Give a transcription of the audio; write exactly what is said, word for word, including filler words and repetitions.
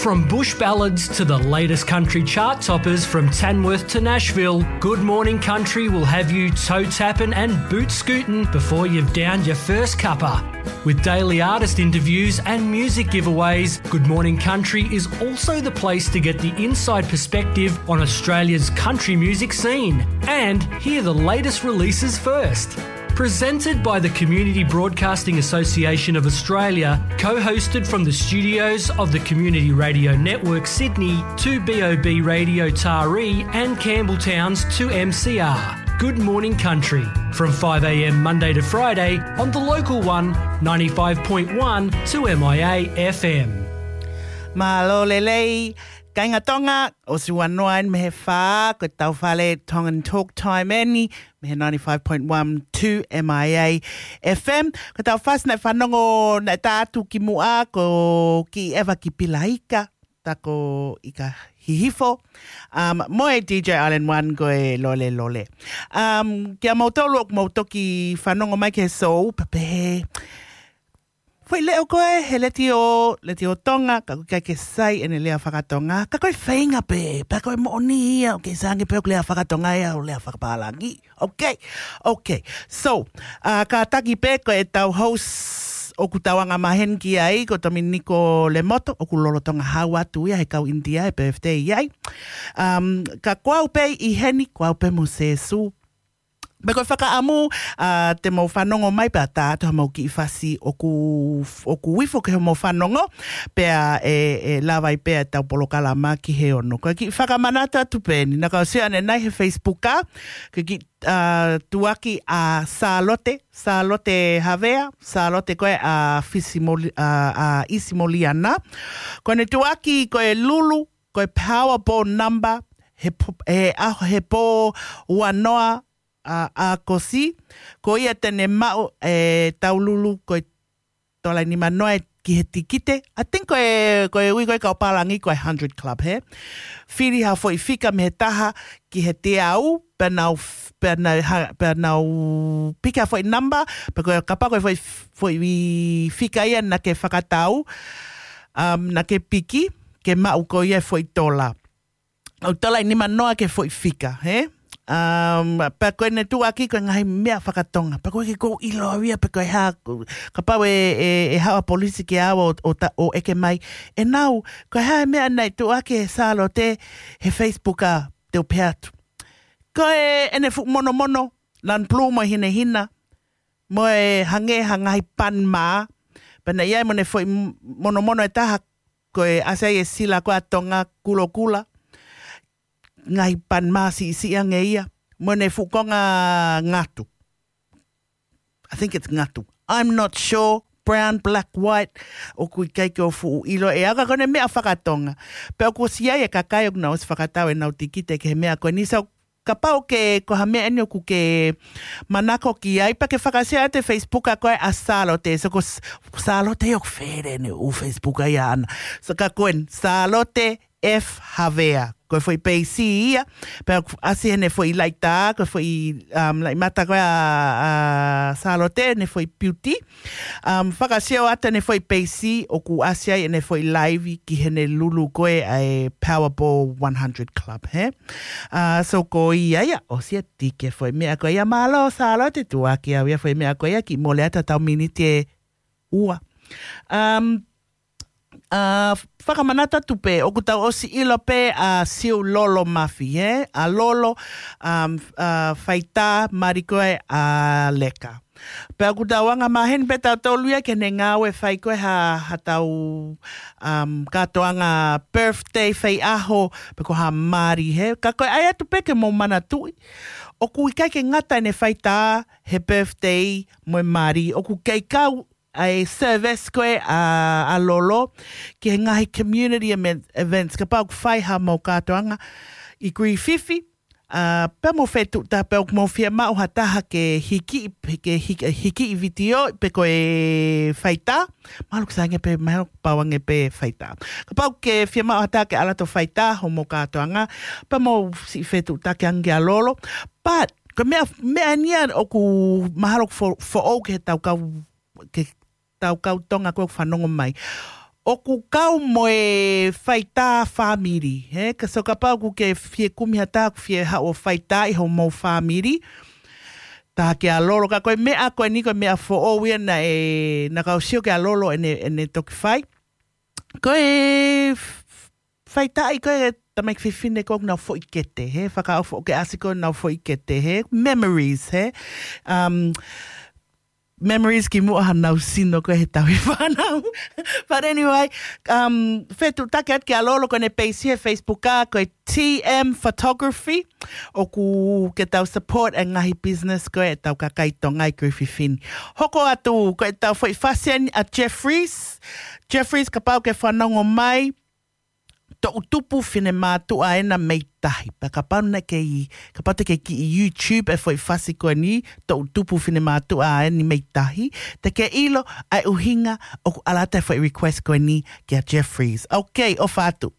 From bush ballads to the latest country chart toppers, from Tamworth to Nashville, Good Morning Country will have you toe tapping and boot scooting before you've downed your first cuppa. With daily artist interviews and music giveaways, Good Morning Country is also the place to get the inside perspective on Australia's country music scene and hear the latest releases first. Presented by the Community Broadcasting Association of Australia, co-hosted from the studios of the Community Radio Network Sydney, two B O B Radio Taree and Campbelltown's two M C R. Good Morning Country, from five a.m. Monday to Friday on the local one, ninety-five point one two M I A F M. Mālō lelei, kāinga Tonga, ʻosi ua noa eni mei he fā, ko ʻetau fale Tongan Talk Time eni, mei he ninety-five point one two M I A F M. Ko ʻetau fasi naʻe fanongo naʻe tā atu kimuʻa, ko Kiʻi Eva ki Pilaika, tā ko ʻIka Hihifo. Um, mo e D J Island One ko e Lole Lole. Um, kia moutolu ʻoku mou toki fanongo mai ki he sou, pea pehē, foʻi leʻo ko ē he letiō, letiō Tonga, ka ʻoku ʻikai ke sai ʻene lea fakatonga, ka ko e feinga pē, pea ko e moʻoni ia, ʻoku kei sai ange pē ʻoku lea fakatonga ia ʻo lea fakapālangi. Ok, ok. So, uh, kātaki pē ko ʻetau host ʻoku tau anga maheni ki ai, ko Tominiko Lemoto, ʻoku lolotonga hau atu ia he kau ʻInitia he birthday ai. Um, ka ko au pē ʻi heni, ko au pē mo Sēsū. Pea ko e fakaʻamu, uh, te mou fanongo mai pea tā atu ha mau kiʻi fasi ʻoku, ʻoku ifo ki hoʻomou fanongo, pea ʻe, ʻe lava ai pē ʻetau polokalama ki he ono. Ko e kiʻi fakamanatu atu pē eni, naʻa ku sio ʻanenai he Facebook, ko e kiʻi, uh, tuʻuaki ʻa Sālote, Sālote Havea, Sālote ko ē ʻa Fisimoli-, ʻa, ʻa ʻIsimoliana. Ko ʻene tuʻuaki ko e lulu, ko e Powerball number, he po-, he ʻaho, he pō ua noa, ʻa, ʻAokosi, ko ia te ne maʻu ʻetau lulu ko e tola ʻe nima noa ki he tikite. I think ko e, ko e ui ko ē kau pālangi ko e hundred club, hē? Fili ha foʻi fika mei he taha ki he teau, pea nau f-, pea nau ha-, pea nau piki ha foʻi number, pea ko e kapau ko e foʻi f-, foʻi fika ia naʻa ke fakatau, um, naʻa ke piki, ke maʻu ko ia e foʻi tola. ʻOku tola ʻe nima noa ki he foʻi fika, hē? Um, pea ko ʻene tuʻuaki ko e ngaahi meʻa fakatonga. Pea ko e ke kou ʻilo au ia, pea ko e hā, kapau ʻe, ʻe, ʻe haʻu ʻa e polisi ke ʻalu ʻo, ʻo ta-, ʻo ʻeke mai. ʻE nau, ko e hā e meʻa naʻe tuʻuaki ʻe Sālote he Facebook ʻa te u pehē atu. Ko e ʻene fuʻu monomono, lanu pulū mo e hinehina, mo e hangē ha ngaahi pan mā, pea naʻe ʻi ai mo ʻene foʻi m-, monomono ʻe taha, ko e ʻasi ai e sila ko ē ʻa Tonga kulokula, ngaahi pan mā siʻisiʻi ange ia, mo ʻene fuʻu konga ngatu. I think it's ngatu. I'm not sure. Brown, black, white. ʻOku ʻikai ke u fuʻu ʻilo ʻe au ka ko ʻene meʻa fakatonga. Pea ʻoku ʻosi ʻi ai e kakai ʻoku nau ʻosi fakatau ʻenau tikite ki he meʻa ko eni. So, kapau ke, ko ha meʻa eni ʻoku ke manako ki ai, pea ke fakasio atu e Facebook ʻa ko ē ʻa Sālote. So ko S-, Sālote ʻoku fēlē ʻene ʻū Facebook ʻa ia ʻaʻana. So ka ko eni, Sālote F Havea. Ko e foʻi peisi ia, pea ʻoku ʻasi heʻene foʻi laʻi tā, ko e foʻi, um, laʻi mata ko ē ʻa, ʻa Sālote, ʻene foʻi beauty. Um, fakasio atu ʻene foʻi peisi, ʻoku ʻasi ai ʻene foʻi live ki heʻene lulu ko ē ʻa e Powerball one hundred Club, hē? Uh, so ko ia ia, ʻosi ia tike foʻi meʻa ko ia, mālō Sālote, tuʻuaki au ia foʻi meʻa ko ia, kiʻi mole atu ʻetau miniti ʻe ua. Um, uh, fakamanatu atu pē, ʻoku tau ʻosi ʻilo pē ʻa Siu Lolo Mafi, hē? ʻA Lolo, um, uh, faitā mali ko ē ʻa Leka. Pea ʻoku tau anga maheni pē tautolu ia ki heʻene ngāue fai ko ē ha, haʻatau, um, kātoanga birthday fai ʻaho, pe ko ha mali, hē. Ka ko e ʻai atu pē ke mou manatuʻi, ʻoku ʻikai ke ngata ʻene faitā he birthday mo e mali, ʻoku kei kau ʻa e service ko ē ʻa, ʻa Lolo ki he ngaahi community emen-, events, kapau ʻoku fai ha mau kātoanga ʻi Griffith, uh, pea mou fetuʻutaki pea ʻoku mou fiemaʻu ha taha ke hiki, ke hiki, hiki ʻi vitiō, pe ko e faitā, mahalo ʻoku sai ange pē, mahalo ʻoku pau ange pē faitā. Kapau ke fiemaʻu ha taha ke ʻalu atu ʻo faitā hoʻomou kātoanga, pea mou siʻi fetuʻutaki ange kia Lolo. But, ko e meʻa, meʻa eni ia ʻoku mahalo ʻoku fo-, foʻou ki heʻetau kau, ki heʻetau kau Tonga ko ē ʻoku fanongo mai. ʻoku kau mo e faitā fāmili, he? Ka so kapau ʻoku ke fie kumi ha taha ʻoku fie haʻu ʻo faitā ʻi hoʻomou fāmili, tā kia Lolo, ka ko e meʻa ko eni ko e meʻa foʻou ia naʻe, naʻa ku sio kia Lolo ʻene, ʻene toki fai. Ko e f-, f-, faitaʻi ko e tamaiki fefine ko ē ʻoku nau foʻi kete, he? Fakaʻofoʻofa ke ʻasi ko ē ʻenau foʻi kete, he? Memories, he? Um, memories ki muʻa hanau sino ko ē he tauhi fānau. But anyway, um, fetuʻutaki atu kia Lolo, ko ʻene peisi he Facebook ʻa, ko e T M Photography, ʻoku ke tau support e ngaahi business ko ē ʻetau kakai Tonga ʻi Griffith. Hoko atu, ko ʻetau foʻi fasi eni ʻa Jeffries. Jeffries, kapau ʻoku ke fanongo mai, toʻutupu finemātuʻa ena mei tahi. Pea kapau naʻe kei, kapau te ke kiʻi YouTube e foʻi fasi ko eni, toʻutupu finemātuʻa eni mei tahi, te ke ʻilo ʻa e ʻuhinga ʻoku ʻalu atu e foʻi request ko eni kia Jeffries. Ok, ʻofa atu.